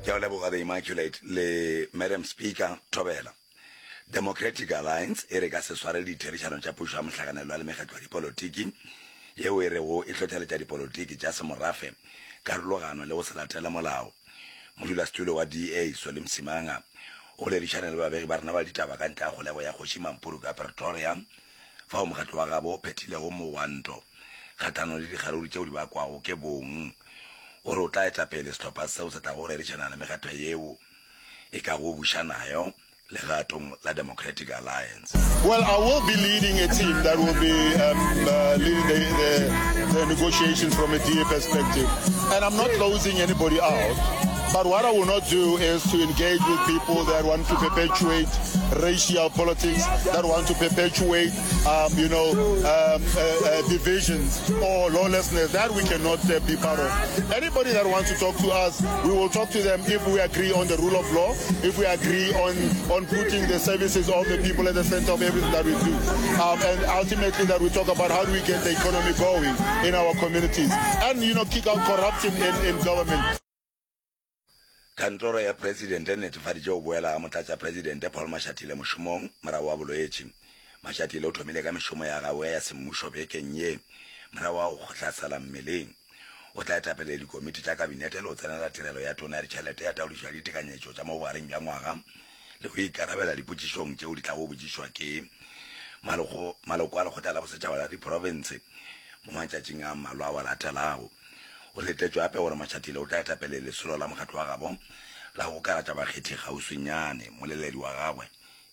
Ke a o leboga The Immaculate le Madam Speaker Thobela. Democratic Alliance e re ka se swarele ditherišano tša pušo ya mohlakanelwa le mekgatlo ya dipolotiki yeo e rego e hlohleletša dipolotiki tša semorafe, karologano le go se latele molao. Modulasetulo wa DA, Solly Msimanga, o boledišane le babegi ba rena ba ditaba ka ntle ga kgolego ya Kgoši Mampuru ka Pretoria, fao mokgatlo wa gabo o phethilego mogwanto kgahlanong le dikgaruru tšeo di bakwago ke bong. O re o tla eta pele sehlopha seo se tlago go rerišana le mekgatlo yeo e kago buša nayo legatong la Democratic Alliance. Well, I will be leading a team that will be um, uh, leading the, the, the negotiations from a DA perspective. And I'm not closing anybody out. But what I will not do is to engage with people that want to perpetuate racial politics, that want to perpetuate, um, you know, um, uh, uh, divisions or lawlessness. That we cannot uh, be part of. Anybody that wants to talk to us, we will talk to them if we agree on the rule of law, if we agree on, on putting the services of the people at the center of everything that we do. Um, and ultimately that we talk about how do we get the economy going in our communities and, you know, kick out corruption in, in government. Kantoro ya Presidente e netefaditše go boela ga Motlatšapresidente Paul Mashatile mošomong morago ga bolwetši. Mashatile o thomile ka mešomo ya gagwe ya semmušo bekeng ye morago ga go hlasela mmeleng. O tla etapele dikomiti tša kabinete le go tsenela tirelo ya Tona ya Ditšhelete ya Taodišo ya Ditekanyetšo tša mo bogareng bja ngwaga le go ikarabela dipotšišong tšeo di tlago botšišwa ke maloko a Lekgotla la Bosetšhaba la Diprofense mo matšatšing a mmalwa ao a latelago. Go letetšwe gape gore Mashatile o tla eta pele lesolo la mokgatlo wa gabo la go gokagatša bakgethi kgauswinyane. Moleledi wa gagwe,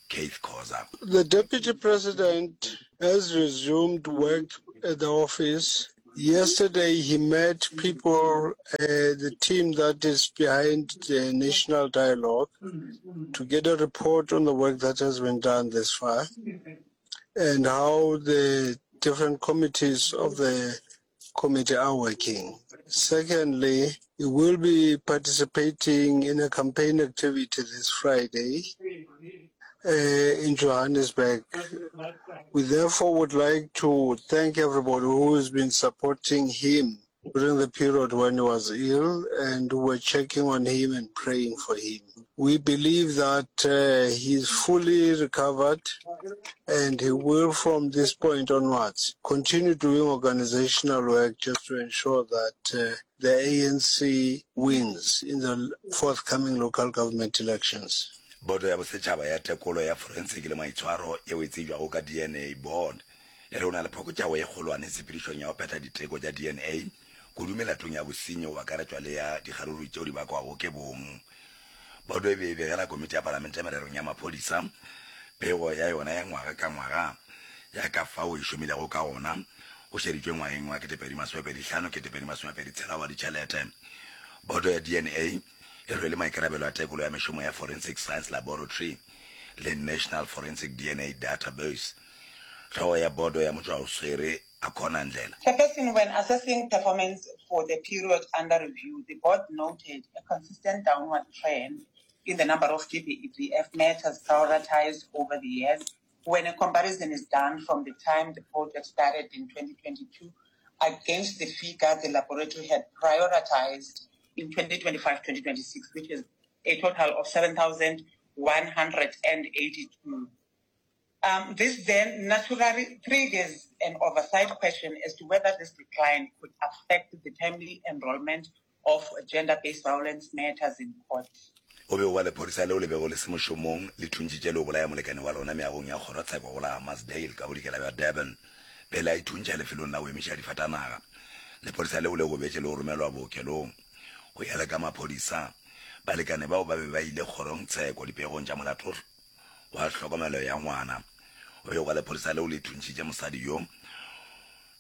Keith Khoza. The Deputy President has resumed work at the office. Yesterday he met people, uh, the team that is behind the national dialogue, to get a report on the work that has been done this far and how the different committees of the committee are working. Secondly, he will be participating in a campaign activity this Friday uh, in Johannesburg. We therefore would like to thank everybody who has been supporting him during the period when he was ill and who were checking on him and praying for him. We believe that uh, he is fully recovered and he will, from this point onwards, continue doing organizational work just to ensure that uh, the ANC wins in the forthcoming local government elections. Boto ya Bosetšhaba ya Tekolo ya Forensiki le Maitshwaro yeo e tsebjago ka DNA Board e re o na le phokotšago ye kgolwane tshepedišong ya go phetha diteko tša DNA kudu melatong ya bosenyi go akaretšwa le ya dikgaruru tšeo di bakwago ke bong. Boto e be e begela Komiti ya Palamente Mererong ya Maphodisa pego ya yona ya ngwaga ka ngwaga ya ka fao e šomilego ka gona go šeditšwe ngwageng wa 2025, 2026 wa ditšhelete. Boto ya DNA e rwele maikarabelo a tekolo ya mešomo ya Forensic Science Laboratory le National Forensic DNA Database. Hlogo ya bodo ya motšwaoswere Akhona Ndlela. Chairperson, when assessing performance for the period under review, the board noted a consistent downward trend in the number of GBVF matters prioritised over the years when a comparison is done from the time the project started in 2022 against the figure the laboratory had prioritised in 2025-2026, which is a total of 7,182. Um, this then naturally triggers an oversight question as to whether this decline could affect the timely enrollment of gender-based violence matters in court. O be o ba lephodisa leo le bego le se mošomong le thuntšitše le go bolaya molekane wa lona meagong ya kgorotsheko go la Hammarsdale ka bodikela bja Durban pele a ithuntšha lefelong la go emiša difatanaga. Lephodisa leo le gobetše le go romelwa bookelong. Go ya le ka maphodisa, balekane bao ba be ba ile kgorongtsheko dipegong tša molato wa tlhokomelo ya ngwana. O begwa lephodisa leo le thuntšhitše mosadi yo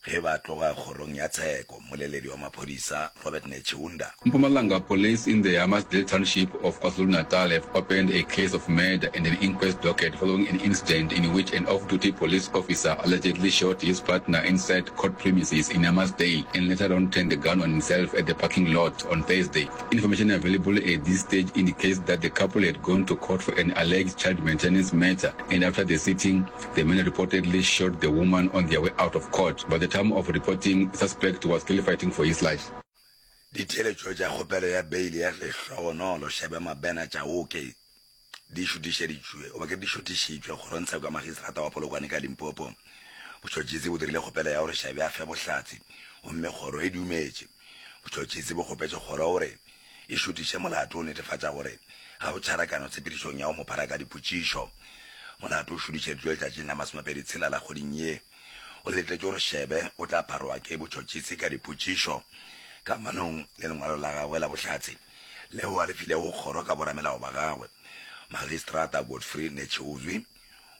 ge ba tloga kgorong ya tsheko. Mmoleledi wa maphodisa Robert Netshiunda. Mpumalanga Police in the Hammarsdale township of KwaZulu-Natal have opened a case of murder and an inquest docket following an incident in which an off-duty police officer allegedly shot his partner inside court premises in Hammarsdale and later on turned the gun on himself at the parking lot on Thursday. Information available at this stage indicates that the couple had gone to court for an alleged child maintenance matter and after the sitting, the man reportedly shot the woman on their way out of court. By the time of reporting, the suspect was still fighting for his life. Ditheeletšo tša kgopelo ya beile ya Lehlogonolo Shebe Mabena Chauke di šutišeditšwe goba ke di šutišitšwe kgorongtsheko ya magistrata wa Polokwane ka Limpopo. Botšhotšhisi bo dirile kgopelo ya gore Shebe a fe bohlatse gomme kgoro e dumetše. Botšhotšhisi bo kgopetše kgoro gore e šutiše molato go netefatša gore ga go tšharakano tshepedišong ya go mo phara ka dipotšišo. Molato o šutišeditšwe letšatšing la masomepedi tshela la kgweding ye. O letetše gore Shebe o tla pharwa ke botšhotšhisi ka dipotšišo kamanong le lengwalo la gagwe la bohlatse leo a le filego kgoro ka boramelao ba gagwe. Magistrata Godfrey Netshiuzwi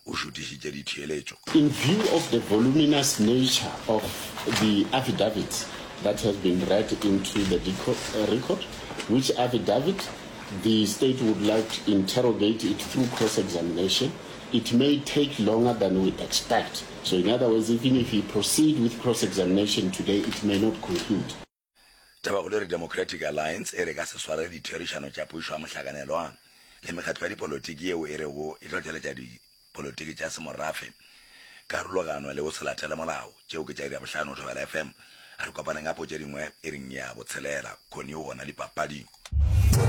o šutišitše ditheeletšo. In view of the voluminous nature of the affidavits that have been read into the record, which affidavit the state would like to interrogate it through cross-examination, it may take longer than we expect. So in other words, even if we proceed with cross-examination today, it may not conclude. Tabakgolo e re Democratic Alliance e re ka se swarele ditherišano tša pušo ya mohlakanelwa le mekgatlo ya dipolotiki yeo e rego e hlohleletša dipolotiki tša semorafe, karologano le go se latele molao. Tšeo ke tša iri ya bohlano Thobela FM. A re kopaneng gape go tše dingwe iring ya botshelela. Connie o gona dipapading.